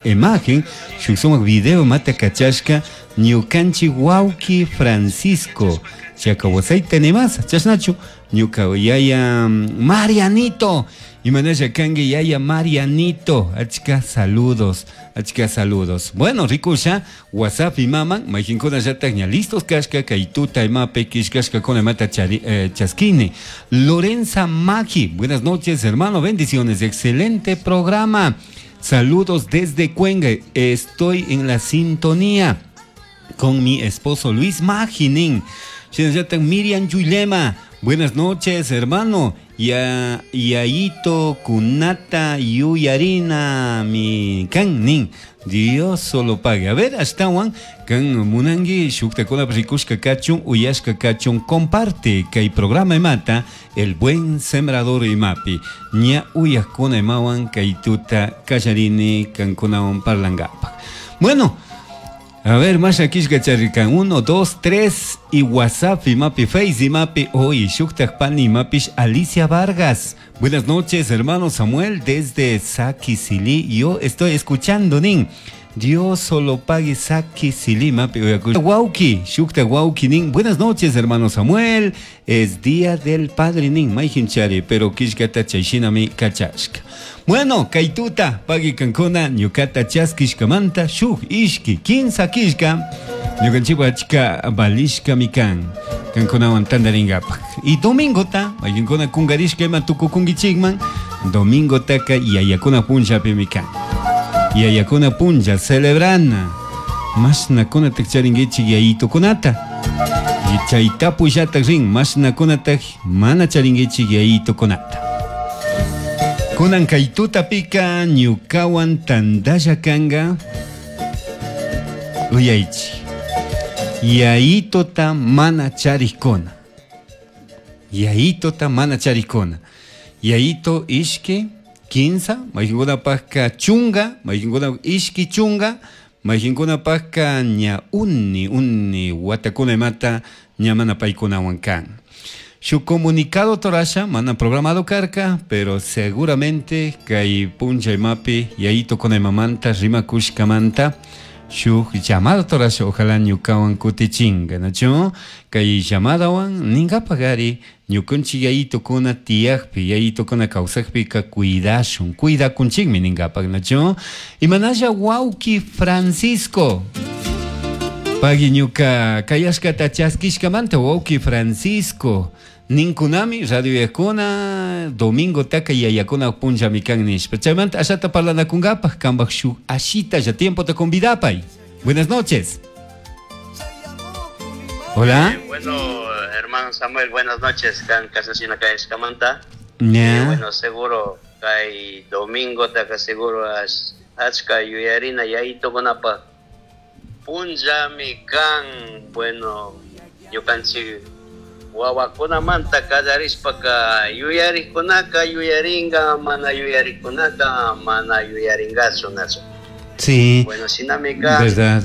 Imagen shuk sumak video mata kachashka ñukanchik wawki Francisco chayka wasayta nimasa chashnachu ñuka yaya Marianito imanasha kanki yaya Marianito achka saludos achka saludos bueno rikusha WhatsApp imaman mayqinkunallatak ña listos kashka kay tuta imapi killkashkakuna imata chari, chaskini Lorenza Maki buenas noches hermano bendiciones excelente programa Saludos desde Cuenca. Estoy en la sintonía con mi esposo Luis Maginin. Miriam Yulema. Buenas noches, hermano. Ya, Yaito Kunata Yuyarina mi kan Dios solo pague. A ver, ashtawan kan munangi shuktakuna rikushka kachun uyashka kachun comparte kay programa imata el buen sembrador imapi ña uyakuna imawan kay tuta kallarini kankunawan parlangapaj. Bueno, a ver, más aquí charrican. 1, 2, 3 y WhatsApp y mapi Face y mapi hoy Shuktak Pani mapish Alicia Vargas. Buenas noches, hermano Samuel, desde Saquisili. Yo estoy escuchando, nin. Dios solo pague Saquisili, mapi. Wauki, Shukta Wauki, nin. Buenas noches, hermano Samuel. Es día del padre, nin. Maijinchari, pero kishkata chayshinami kachashka. Bueno, kaituta, pagui kankuna, ñukata chaskishkamanta, shuk, ishki, kinsa kishka, ñukanchikwa achka balishka mikan, kankunawan tantaringapak. Y domingota, mayqinkuna kunkarishka ima tukukunkichikman, domingotaka yayakuna punllapi mikan. Yayakuna punlla celebrana. Mashnakunatak charinkichik yayitukunata. Y chay tapullatak rin, mashnakunatak mana charinkichik yayitukunata. Kunan kay tutapika ñukawan tantalla kanga uyaychik. Yayitota mana charikuna. Yayitota mana charikuna. Yayito ishki kinsa, mayqinkunapaqka chunga, mayqinkuna ishki chunga, mayqinkunapaqka ña uni uni watakuna imata ña mana paykunawan kan. Su comunicado torasha mana programado karka, pero seguramente kay puncha imapi yayito kuna imamanta rimakushkamanta shuk llamado torasha ojalá ñukawan kutichinga, ¿nachu? Kay llamadawan ninkapagari ñukanchik yayitokuna tiyakpi yayitokuna kawsakpika cuidashun cuidakunchikmi ninkapak, ¿nachu? Imanalla wawki Francisco Pagui ñuka kayashkata chaskishkamanta wawki Francisco ninkunami radio yakuna domingo taka yayakuna punllami kan nishpa chaymanta ashata parlanakunkapaj kanpak shuk ashita ya tiempo te convidapay. Buenas noches. Hola. Bueno, hermano Samuel, buenas noches. Kan kasasina kayashkamanta. Ya. Bueno, seguro kay domingo taka seguro achka yuyarina yayitukunapaj punllami kan. Bueno, ñukanchik wawakunamanta kallarishpaka yuyarikunaka yuyaringa, mana yuyarikunaka mana yuyaringachu, nachu. Sí. Bueno, shinami kan. Verdad.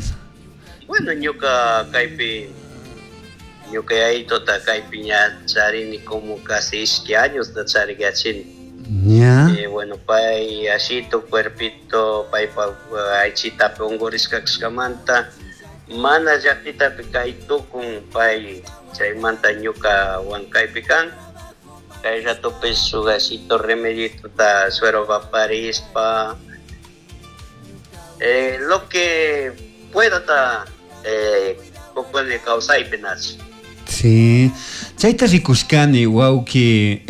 Bueno, ñuka kaypi ñuka yayitota kaypi ña charini como casi ishki años ta charikachini. Ya. Bueno, pay ashito cuerpito, paypa aychitapi unkurishka kashkamanta mana llaqtitapi kay tukun pay chaymanta ñuka wankaypi kan. Kay ratopi shuk ashito remeditota suero vaparispa. Lo que pueda ta kukuni kawsaypi nachu. Sí, chayta rikushkani wawki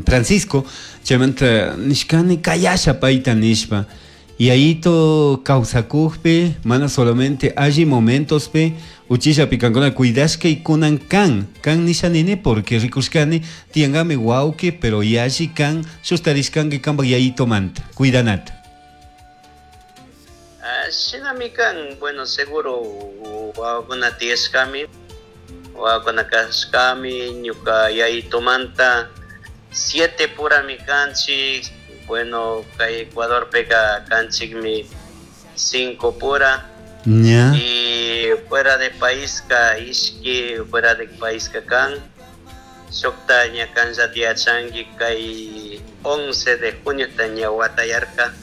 Francisco, chaymanta nishkani kayasha payta nishpa. Yayito kawsakukpi, mana solamente alli momentospi, uchillapi kankuna cuidashka y kunan kan, kan nisha nini porque rikushkani tiangami wawki, pero yalli kan shustarishkanki kanpak yayito manta, cuidanata. Shinami kan, bueno, seguro wawakuna tiyashkami, wawakuna kashkami, ñuka yayitomanta 7 purami kanchik, bueno, kay Ecuadorpika kanchikmi 5 pura. Ya. Y fuera de país ka ishki, fuera de país ka kan. Shukta ña kanlla tiyachanki kay 11 de junio ta ña watayarka.